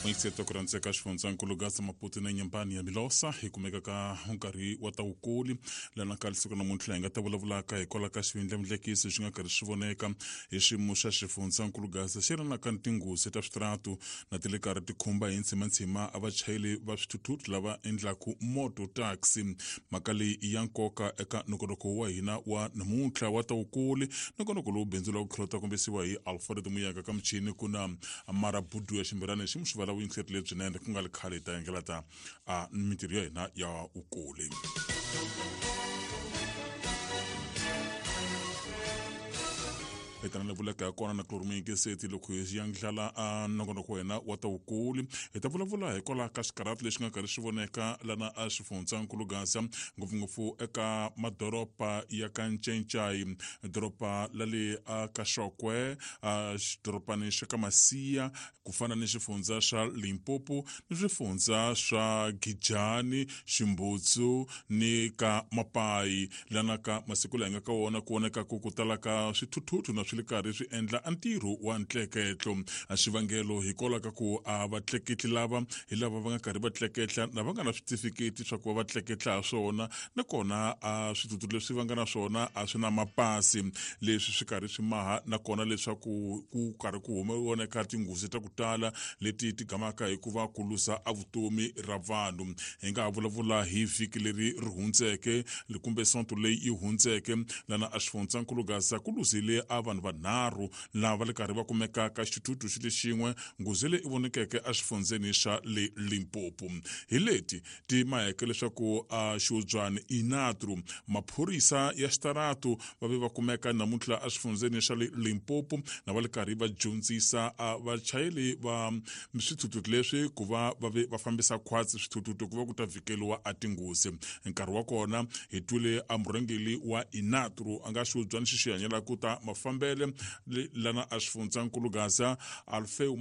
Muyingiseti ku rhandzeka xifundzankulu Gaza Maputo na Nyambani ya Milosa hi kumeka ka nkarhi wa ta vukuli lana ka siku namuntlha hi nga ta vulavulaka hikwalaho ka xivindlavindlekisi xi nga karhi xi voneka hi xiyimo xa xifundzankulu Gaza xi ri na ka tinghozi ta switaratu na ti le karhi ti khumba hi ntshimantshima a vachayeri va swithuthuthu lava endlaku moto taxi. Mhaka leyi i ya nkoka eka nongonoko wa hina wa namuntlha wa ta vukuli, nongonoko lowu bindzu la ku tlhela ta kombisiwa hi Alfred Muyaka ka muchini ku na Marabudu ya ximbirani xi muxivala vuyingiseri lebyinene ku nga ri khale hi ta engela ta a mintirho ya hina ya vukuli. Hi vuleka ya kona na kulorumuyingiseti loko hi yandlala a nongonoko wa hina wa ta vukuli, hi ta vulavula hikwalaho ka xikarhati lexi nga karhi xi voneka lana a xifundzankulu Gaza, ngopfungopfu eka madoroba ya ka Ncencai, doroba la le a ka Xokwe, a xidorobani xa ka Masiya, ku fana ni xifundza xa Limpopo ni swifundza swa Gijani, Ximbutsu ni ka Mapayi. Lana ka masiku laha hi nga ka wona ku voneka ku tala ka swithuthuthu na swi le karhi swi endla a ntirho wa ntleketlo. A xivangelo hikwalaho ka ku a vatleketli lava hi lava va nga karhi va tleketla na va nga na switifiketi swa ku va va tleketla ha swona, nakona a swithuthuthu leswi va nga na swona a swi na mapasi. Leswi swi karhi swi maha nakona leswaku ku karhi ku voneka tinghozi ta ku tala leti ti gamaka hi ku va ku luza a vutomi ra vanhu. Hi nga ha vulavula hi vhiki leri ri hundzeke kumbe sonto leyi yi hundzeke, lana a xifundzankulu Gaza ku luzile a vanhu vanharhu lava va le karhi va kumeka ka xithuthuthu xi le xin'we, nghozi leyi vonekeke exifundzeni xa le Limpopo. Hi leti ti maheke leswaku a xiudzwani inatru maphorisa ya xitaratu va ve va kumeka namuntlha exifundzeni xa le Limpopo na va le karhi va dyondzisa vachayeri va swithuthuthu leswi ku va va ve va fambisa khwatsi swithuthuthu ku va ku ta vhikeliwa a tinghozi. Nkarhi wa kona hi twile a murhangeri wa inatru a nga xiudzwani xi xi hanyelaka ta mafambele lana a xifundzankulu Gaza, Alfeu.